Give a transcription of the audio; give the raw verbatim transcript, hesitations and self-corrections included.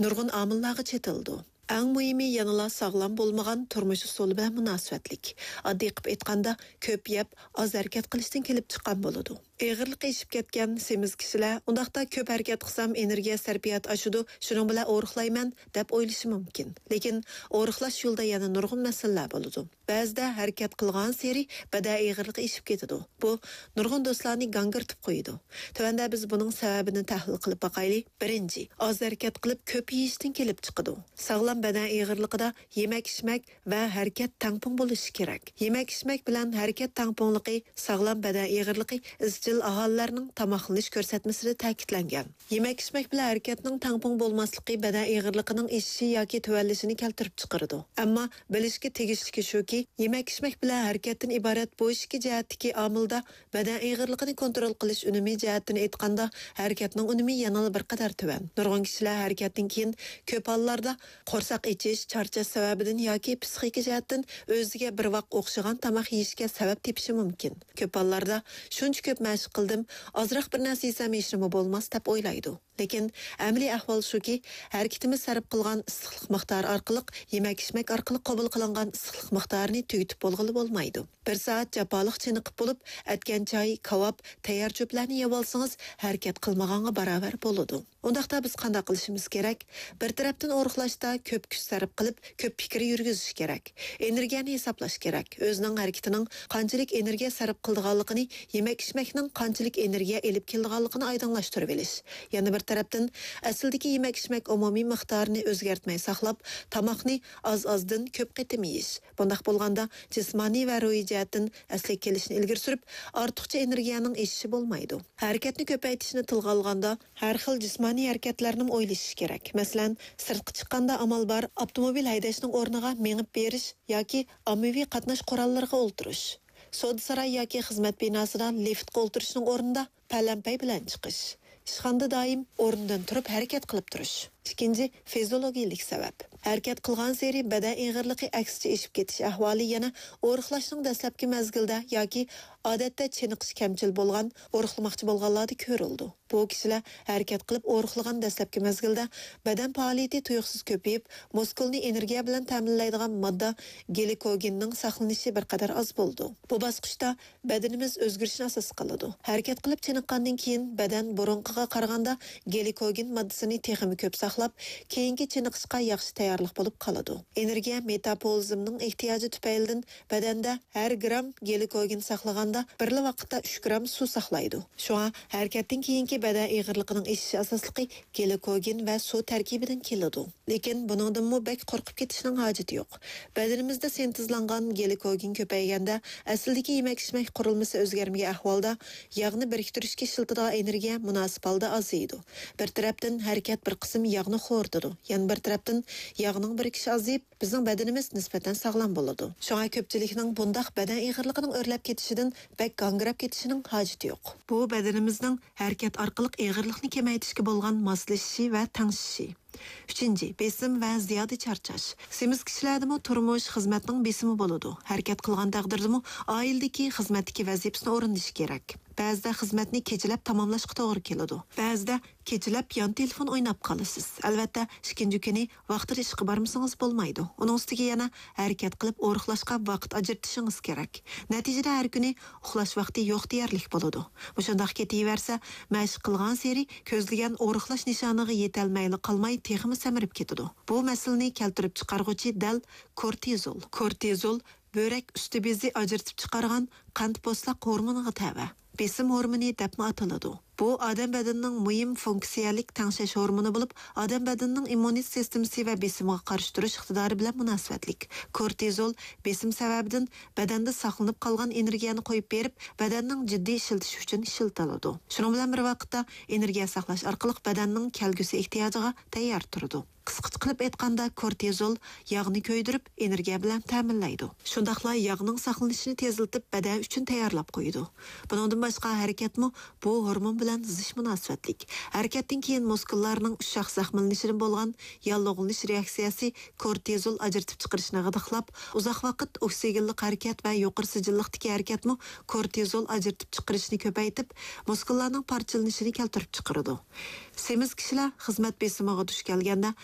نۇرغۇن ئامىللارغا چېتىلىدۇ. ئەڭ مۇھىمى يەنىلا ساغلام بولمىغان تۇرمۇش ئۇسۇلى بىلەن مۇناسىۋەتلىك. ئاددىي قىلىپ ئېيتقاندا، كۆپ يەپ، ئاز ھەرىكەت قىلىشتىن كېلىپ چىققان بولىدۇ. ئېغىرلىقى ئېشىپ كەتكەن سېمىز كىشىلەر، ئۇنداقتا كۆپ ھەرىكەت قىلسام ئېنېرگىيە سەرپىياتى ئاشىدۇ، شۇنىڭ بىلەن ئورۇقلايمەن، دەپ ئويلىشى مۇمكىن. لېكىن ئورۇقلاش يولىدا يەنە نۇرغۇن مەسىلىلەر بولىدۇ. بەزىدە ھەرىكەت قىلغانسېرى بەدەن ئېغىرلىقى ئېشىپ كېتىدۇ. بۇ نۇرغۇن دوستلارنى گاڭگىرىتىپ قويىدۇ. تۆۋەندە بىز بۇنىڭ سەۋەبىنى تەھلىل قىلىپ باقايلى. بىرىنچى، ئاز ھەرىكەت قىلىپ كۆپ يېيىشتىن كېلىپ چىقىدۇ. ساغلام بەدەن ئېغىرلىقىدا يېمەك-ئىچمەك ۋە ھەرىكەت تەڭپۇڭ بولۇشى كېرەك. يېمەك-ئىچمەك بىلەن ھەرىكەت تەڭپۇڭلۇقى ساغلام بەدەن ئېغىرلىقى ئىزچىل ئاھالىلەرنىڭ تاماقلىنىش كۆرسەتمىسىدە تەكىتلەنگەن. يېمەك-ئىچمەك بىلەن ھەرىكەتنىڭ تەڭپۇڭ بولماسلىقى بەدەن ئېغىرلىقىنىڭ ئېشىشى ياكى تۆۋەنلىشىنى كەلتۈرۈپ چىقىرىدۇ. ئەمما بىلىشكە تېگىشلىكى شۇكى، يېمەك-ئىچمەك بىلەن ھەرىكەتتىن ئىبارەت بۇ ئىككى جەھەتتىكى ئامىلدا بەدەن ئېغىرلىقىنى كونترول قىلىش ئۈنۈمى جەھەتتىن ئېيتقاندا، ھەرىكەتنىڭ ئۈنۈمى يەنىلا بىر قەدەر تۆۋەن. نۇرغۇن كىشىلەر ھەرىكەتتىن كېيىن كۆپ ھاللاردا قورساق ئېچىش، چارچاش سەۋەبىدىن ياكى پسىخىكا جەھەتتىن ئۆزىگە بىر ۋاق ئوخشىغان تاماق يېيىشكە سەۋەب تېپىشى مۇمكىن. كۆپ ھاللاردا شۇنچە كۆپ مەشىق قىلدىم، ئازراق بىر نەرسە يېسەم ھېچنېمە بولماس دەپ ئويلايدۇ. لېكىن ئەمەلىي ئەھۋال شۇكى، ھەرىكىتىمىز سەرپ قىلغان ئىسسىقلىق مىقدارى ئارقىلىق يېمەك-ئىچمەك ئارقىلىق قوبۇل قىلىنغان ئىسسىقلىق مىقدارىنى تۈگىتىپ بولغىلى بولمايدۇ. بىر سائەت جاپالىق چېنىقىپ بولۇپ، ئەتكەن چاي، كاۋاپ، تەييار چۆپلەرنى يەۋالسىڭىز، ھەرىكەت قىلمىغانغا باراۋەر بولىدۇ. ئۇنداقتا بىز قانداق قىلىشىمىز كېرەك؟ بىر تەرەپتىن ئورۇقلاشتا كۆپ كۈچ سەرپ قىلىپ، كۆپ پىكىر يۈرگۈزۈش كېرەك. ئېنېرگىيەنى ھېسابلاش كېرەك. ئۆزىنىڭ ھەرىكىتىنىڭ قانچىلىك ئېنېرگىيە سەرپ قىلىدىغانلىقىنى، يېمەك-ئىچمەكنىڭ قانچىلىك ئېنېرگىيە ئېلىپ كېلىدىغانلىقىنى ئايدىڭلاشتۇرۇۋېلىش. يەنە بىر تەرەپتىن، ئەسلىدىكى يېمەك-ئىچمەك ئومۇمىي مىقدارىنى ئۆزگەرتمەي ساقلاپ، تاماقنى ئاز-ئازدىن كۆپ قېتىم يېيىش. بۇنداق بولغاندا، جىسمانىي ۋە روھىي جەھەتتىن ئەسلىگە كېلىشنى ئىلگىرى سۈرۈپ، ئارتۇقچە ئېنېرگىيەنىڭ ئېشىشى بولمايدۇ. ھەرىكەتنى كۆپەيتىشنى تىلغا ئالغاندا، ھەر خىل جىسمانىي ھەرىكەتلەرنىمۇ ئويلىشىش كېرەك. مەسىلەن، سىرتقا چىققاندا ئامال بار، ئاپتوموبىل ھەيدەشنىڭ ئورنىغا مېڭىپ بېرىش ياكى ئاممىۋى قاتناش قوراللىرىغا ئولتۇرۇش. سودا ساراي ياكى خىزمەت بىناسىدا لىفتقا ئولتۇرۇشنىڭ ئورنىدا پەلەمپەي بىلەن چىقىش. ئىشخانىدا دائىم ئورنىدىن تۇرۇپ ھەرىكەت قىلىپ تۇرۇش. ئىككىنچى، فىزىولوگىيىلىك سەۋەب. ھەرىكەت قىلغانسېرى بەدەن ئېغىرلىقى ئەكسىچە ئېشىپ كېتىش ئەھۋالى يەنە ئورۇقلاشنىڭ دەسلەپكى مەزگىلىدە ياكى ئادەتتە چېنىقىش كەمچىل بولغان، ئورۇقلىماقچى بولغانلاردا كۆرۈلىدۇ. بۇ كىشىلەر ھەرىكەت قىلىپ ئورۇقلىغان دەسلەپكى مەزگىلدە بەدەن پائالىيىتى تۇيۇقسىز كۆپىيىپ، مۇسكۇلنى ئېنېرگىيە بىلەن تەمىنلەيدىغان ماددا گلىكوگېننىڭ ساقلىنىشى بىر قەدەر ئاز بولىدۇ. بۇ باسقۇچتا بەدىنىمىز ئۆزگىرىشنى ئاساس قىلىدۇ. ھەرىكەت قىلىپ چېنىققاندىن كېيىن بەدەن بۇرۇنقىغا قارىغاندا گلىكوگېن ماددىسىنى تېخىمۇ كۆپ ساقلاپ، كېيىنكى چېنىقىشقا ياخشى تەييارلىق بولۇپ قالىدۇ. ئېنېرگىيە مېتابولىزمنىڭ ئېھتىياجى تۈپەيلىدىن بەدەندە ھەر گرام گلىكوگېن ساقلىغاندا بىرلا ۋاقىتتا ئۈچ گرام سۇ ساقلايدۇ. شۇڭا ھەرىكەتتىن كېيىنكى بەدەن ئېغىرلىقىنىڭ ئېشىشى ئاساسلىقى گلىكوگېن ۋە سۇ تەركىبىدىن كېلىدۇ. لېكىن بۇنىڭدىنمۇ بەك قورقۇپ كېتىشنىڭ ھاجىتى يوق. بەدىنىمىزدە سىنتېزلانغان گلىكوگېن كۆپەيگەندە، ئەسلىدىكى يېمەك-ئىچمەك قۇرۇلمىسى ئۆزگەرمىگەن ئەھۋالدا، ياغنى بىرىكتۈرۈشكە ئىشلىتىدىغان ئېنېرگىيە مۇناسىپ ھالدا ئازىيىدۇ. بىر تەرەپتىن ھەرىكەت بىر قىسىم ياغنى خورىتىدۇ، يەنە بىر تەرەپتىن ياغنىڭ بىرىكىشى ئازىيىپ، بىزنىڭ بەدىنىمىز نىسبەتەن ساغلام بولىدۇ. شۇڭا كۆپچىلىكنىڭ بۇنداق بەدەن ئېغىرلىقىنىڭ ئۆرلەپ كېتىشىدىن بەك گاڭگىراپ كېتىشىنىڭ ھاجىتى يوق. بۇ بەدىنىمىزنىڭ ھەرىكەت ئارقىلىق ئېغىرلىقنى كېمەيتىشكە بولغان ماسلىشىشى ۋە تەڭشىشى. ئۈچىنچى، بېسىم ۋە زىيادە چارچاش. سېمىز كىشىلەردىمۇ تۇرمۇش، خىزمەتنىڭ بېسىمى بولىدۇ. ھەرىكەت قىلغان تەقدىردىمۇ ئائىلىدىكى، خىزمەتتىكى ۋەزىپىسىنى ئورۇندىشى كېرەك. بەزىدە خىزمەتنى كېچىلەپ تاماملاشقا توغرا كېلىدۇ. بەزىدە كېچىلەپ يان تېلېفون ئويناپ قالىسىز. ئەلۋەتتە، ئىككىنچى كۈنى ۋاقتىدا ئىشقا بارمىسىڭىز بولمايدۇ. ئۇنىڭ ئۈستىگە يەنە ھەرىكەت قىلىپ ئورۇقلاشقا ۋاقىت ئاجرىتىشىڭىز كېرەك. نەتىجىدە ھەر كۈنى ئۇخلاش ۋاقتى يوق دېيەرلىك بولىدۇ. مۇشۇنداق كېتىۋەرسە، مەشىق قىلغانسېرى كۆزلىگەن ئورۇقلاش نىشانىغا يېتەلمەيلا قالماي، تېخىمۇ سەمرىپ كېتىدۇ. بۇ مەسىلىنى كەلتۈرۈپ چىقارغۇچى دەل كورتىزول. كورتىزول بۆرەك ئۈستى بېزى ئاجرىتىپ چىقارغان قەنت پوستلاق ھورمونىغا تەۋە. بېسىم ھورمونى دەپمۇ ئاتىلىدۇ. بۇ ئادەم بەدىنىنىڭ مۇھىم فۇنكسىيەلىك تەڭشەش ھورمونى بولۇپ، ئادەم بەدىنىنىڭ ئىممۇنىتېت سىستېمىسى ۋە بېسىمىغا قارشى تۇرۇش ئىقتىدارى بىلەن مۇناسىۋەتلىك. كورتىزول بېسىم سەۋەبىدىن بەدەندە ساقلىنىپ قالغان ئېنېرگىيەنى قويۇپ بېرىپ، بەدەننىڭ جىددىي ئىشلىتىشى ئۈچۈن ئىشلىتىلىدۇ. شۇنىڭ بىلەن بىر ۋاقىتتا، ئېنېرگىيە ساقلاش ئارقىلىق بەدەننىڭ كەلگۈسى ئېھتىياجىغا تەييار تۇرىدۇ. قىسقىچە قىلىپ ئېيتقاندا، كورتىزول ياغنى كۆيدۈرۈپ، ئېنېرگىيە بىلەن تەمىنلەيدۇ. شۇنداقلا ياغنىڭ ساقلىنىشىنى تېزلىتىپ، بەدەن ئۈچۈن تەييارلاپ قويىدۇ. بۇنىڭدىن باشقا، ھەرىكەتمۇ بۇ ھورمون بىلەن زىچ مۇناسىۋەتلىك. ھەرىكەتتىن كېيىن مۇسكۇللارنىڭ ئۇششاق زەخىملىنىشىدىن بولغان ياللۇغلىنىش رېئاكسىيەسى كورتىزول ئاجرىتىپ چىقىرىشنى غىدىقلاپ، ئۇزاق ۋاقىت ئوكسىگېنلىق ھەرىكەت ۋە يۇقىرى سىجىللىقتىكى ھەرىكەتمۇ كورتىزول ئاجرىتىپ چىقىرىشنى كۆپەيتىپ، مۇسكۇللارنىڭ پارچىلىنىشىنى كەلتۈرۈپ چىقىرىدۇ. سېمىز كىشىلەر خىزمەت بېسىمىغا دۇچ كەلگەندە،